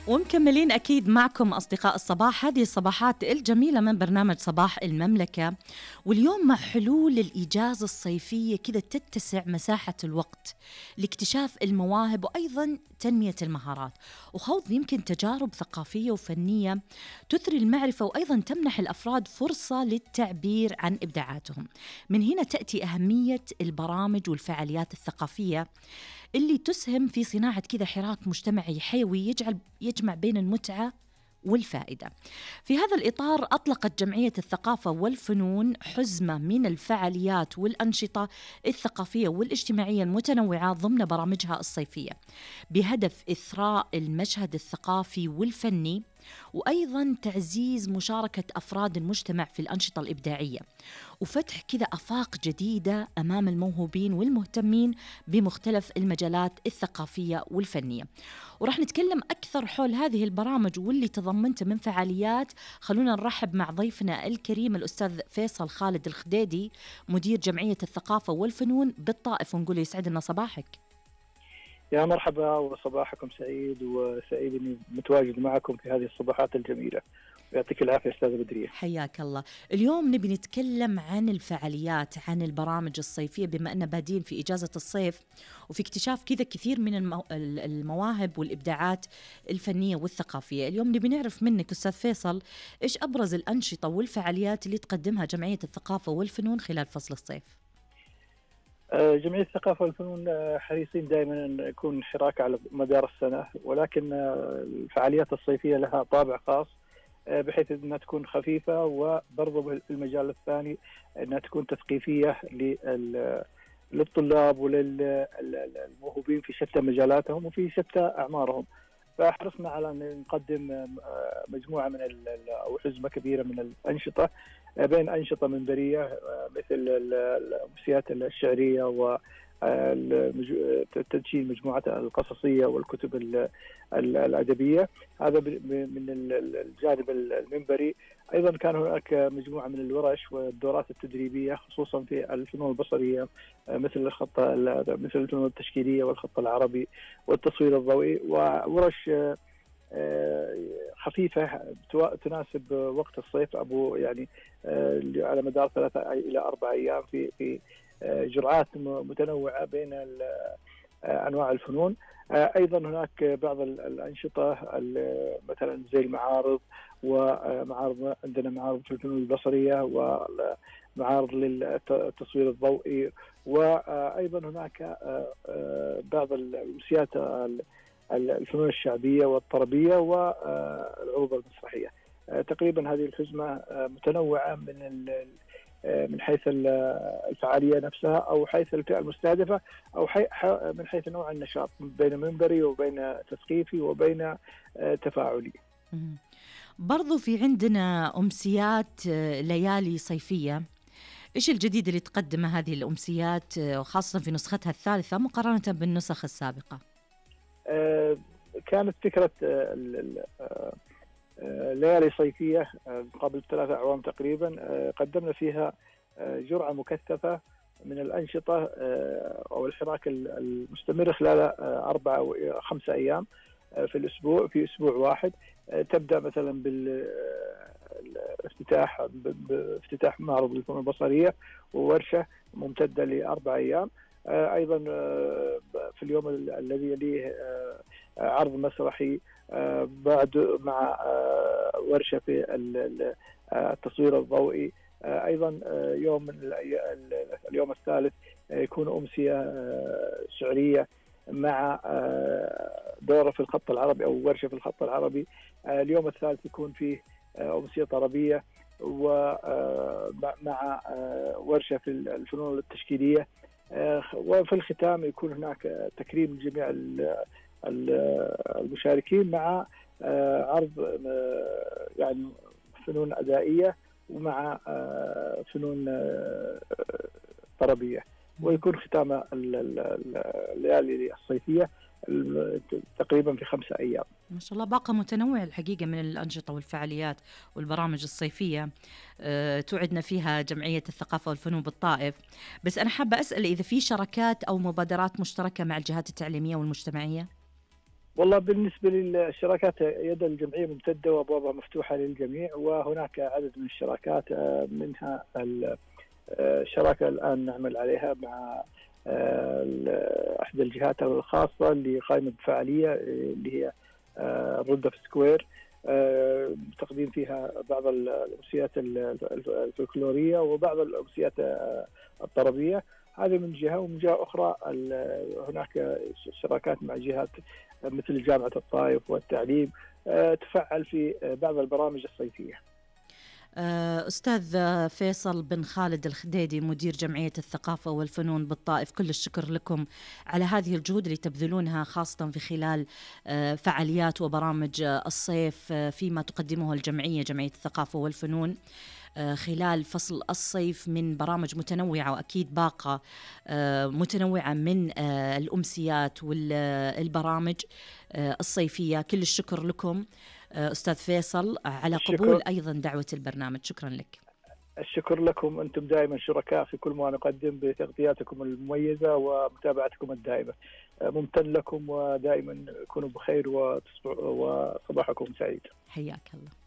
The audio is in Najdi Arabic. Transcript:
ومكملين أكيد معكم أصدقاء الصباح، هذه الصباحات الجميلة من برنامج صباح المملكة. واليوم مع حلول الإجازة الصيفية كذا تتسع مساحة الوقت لاكتشاف المواهب وأيضا تنمية المهارات وخوض يمكن تجارب ثقافية وفنية تثري المعرفة وأيضا تمنح الأفراد فرصة للتعبير عن إبداعاتهم. من هنا تأتي أهمية البرامج والفعاليات الثقافية اللي تسهم في صناعة كذا حراك مجتمعي حيوي يجمع بين المتعة والفائدة. في هذا الإطار أطلقت جمعية الثقافة والفنون حزمة من الفعاليات والأنشطة الثقافية والاجتماعية المتنوعة ضمن برامجها الصيفية بهدف إثراء المشهد الثقافي والفني وأيضاً تعزيز مشاركة أفراد المجتمع في الأنشطة الإبداعية وفتح كذا آفاق جديدة أمام الموهوبين والمهتمين بمختلف المجالات الثقافية والفنية. ورح نتكلم أكثر حول هذه البرامج واللي تضمنته من فعاليات. خلونا نرحب مع ضيفنا الكريم الأستاذ فيصل خالد الخديدي مدير جمعية الثقافة والفنون بالطائف، ونقول يسعدنا صباحك. يا مرحبا وصباحكم سعيد، وسعيد اني متواجد معكم في هذه الصباحات الجميله. يعطيك العافيه استاذه بدريه. حياك الله. اليوم نبي نتكلم عن الفعاليات، عن البرامج الصيفيه بما أننا بادين في اجازه الصيف وفي اكتشاف كذا كثير من المواهب والابداعات الفنيه والثقافيه. اليوم نبي نعرف منك استاذ فيصل ايش ابرز الانشطه والفعاليات اللي تقدمها جمعيه الثقافه والفنون خلال فصل الصيف؟ جمعية الثقافة والفنون حريصين دائما أن يكون حراك على مدار السنة، ولكن الفعاليات الصيفية لها طابع خاص بحيث أنها تكون خفيفة، وبرضو بالمجال الثاني أنها تكون تثقيفية للطلاب وللموهوبين في شتى مجالاتهم وفي شتى أعمارهم. فحرصنا على أن نقدم مجموعة من أو حزمة كبيرة من الأنشطة، بين أنشطة منبرية مثل الأمسيات الشعرية وتدشين مجموعة القصصية والكتب الأدبية، هذا من الجانب المنبري. أيضا كان هناك مجموعة من الورش والدورات التدريبية خصوصا في الفنون البصرية مثل الفنون التشكيلية والخط العربي والتصوير الضوئي، وورش خفيفة تناسب وقت الصيف يعني على مدار 3 إلى 4 أيام في جرعات متنوعة بين أنواع الفنون. أيضا هناك بعض الأنشطة مثلا زي المعارض، ومعارض عندنا معارض في الفنون البصرية ومعارض للتصوير الضوئي، وأيضا هناك بعض الأمسيات الفنون الشعبية والطربية والعروض المسرحية. تقريبا هذه الحزمة متنوعة من حيث الفعالية نفسها أو حيث الفئة المستهدفة أو من حيث نوع النشاط، بين منبري وبين تثقيفي وبين تفاعلي. برضو في عندنا أمسيات ليالي صيفية، إيش الجديد اللي تقدمه هذه الأمسيات وخاصة في نسختها الثالثة مقارنة بالنسخ السابقة؟ كانت فكرة ليالي صيفية قبل 3 أعوام تقريبا، قدمنا فيها جرعة مكثفة من الأنشطة أو الحراك المستمر خلال 4 أو 5 أيام في الأسبوع، في أسبوع واحد. تبدأ مثلا بافتتاح معرض الفنون البصرية وورشة ممتدة ل4 أيام. أيضا في اليوم الذي يليه عرض مسرحي بعد مع ورشة في التصوير الضوئي. أيضا اليوم الثالث يكون أمسية شعرية مع دورة في الخط العربي أو ورشة في الخط العربي. اليوم الثالث يكون فيه أمسية طربية ومع ورشة في الفنون التشكيلية. وفي الختام يكون هناك تكريم جميع المشاركين مع عرض يعني فنون أدائية ومع فنون طربية، ويكون ختام الليالي الصيفية تقريبا في 5 أيام. ما شاء الله، باقة متنوعة الحقيقة من الأنشطة والفعاليات والبرامج الصيفية توعدنا فيها جمعية الثقافة والفنون بالطائف. بس أنا حابة أسأل إذا في شراكات أو مبادرات مشتركة مع الجهات التعليمية والمجتمعية؟ والله بالنسبة للشراكات يد الجمعية ممتدة وأبوابها مفتوحة للجميع، وهناك عدد من الشراكات منها الشراكة الآن نعمل عليها مع إحدى الجهات الخاصة اللي قائمة بفعالية اللي هي الردة في سكوير، تقديم فيها بعض الأمسيات الفلكلورية وبعض الأمسيات الطربية. هذه من جهة، ومن جهة أخرى هناك شراكات مع جهات مثل جامعة الطائف والتعليم تفعل في بعض البرامج الصيفية. أستاذ فيصل بن خالد الخديدي مدير جمعية الثقافة والفنون بالطائف، كل الشكر لكم على هذه الجهود اللي تبذلونها خاصة في خلال فعاليات وبرامج الصيف فيما تقدمه الجمعية، جمعية الثقافة والفنون خلال فصل الصيف من برامج متنوعة، وأكيد باقة متنوعة من الأمسيات والبرامج الصيفية. كل الشكر لكم أستاذ فيصل على قبول أيضا دعوة البرنامج. شكرا لك. الشكر لكم، أنتم دائما شركاء في كل ما نقدم بتغطياتكم المميزة ومتابعتكم الدائمة. ممتن لكم، ودائما كونوا بخير وصباحكم سعيد. حياك الله.